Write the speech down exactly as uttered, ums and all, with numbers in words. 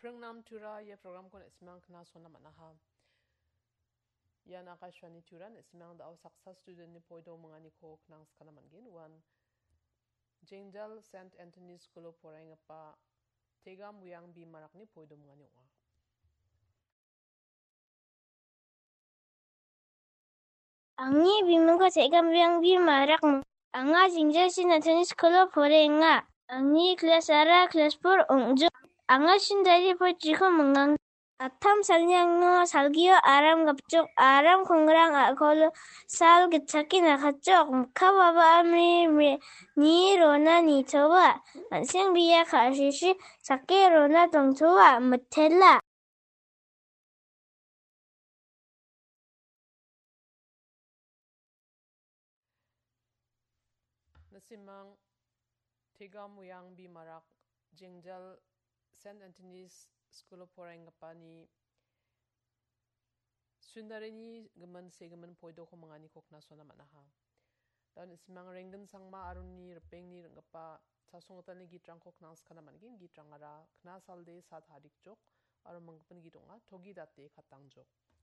Ringnam Tura ia programko na·simang knasona man·aha. Ian Akashvani Tura, na·simang da·o saksa studentni poido minganiko knangskana man·gen. Uan Jengjal Saint Anthony School-o poraienggipa Tegam Wiang Bimarakni poido mingani ong·a. Angni bimingko Tegam Wiang Bimarak. Anga Jengjal Saint Anthony School-o poraienga. Angni class-ara class four ong·jok. Anga sindari pochiko mingang. Attam salni angno salgio aram gapjok, aram kongrang a·kolo sal gitchake nakatjok. Mikka baba amri mi-, ni rona nitoa. An·seng bia ka·sisi sake rona dongtoa, mitela. Na·simang Tegam Wiang Bimarak Jengjal Saint Anthony's School-o poraenggipani sundarini gimin segimin poidoko minganiko knasona man·aha. Da·o na·simang Renggin Sangma aroni ripengni ring·gipa chasonggitalni gitrangko knangskana man·gen. Gitrangara Knasalde Sa Tarikjok aro minggipin git ong·a, Togi Date Katangjok.